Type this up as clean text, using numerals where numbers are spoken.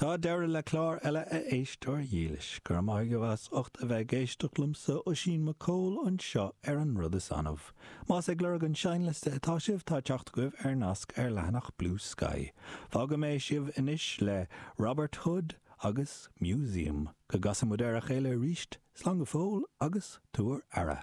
Tá deireadh le clár eile a éisteoir dhílis. Go raibh maith agaibh as ucht a bheith ag éisteacht liomsa, Oisín Mac Cóil, anseo ar An Rud Is Annamh. Más ag lorg an seinnliosta atá sibh, tá teacht agaibh ar nasc ar leathanach Bluesky. Fágfaidh mé sibh anois le Robert Hood agus Museum. Go gcasa muid ar a chéile arís, slán go fóill agus tabhair aire.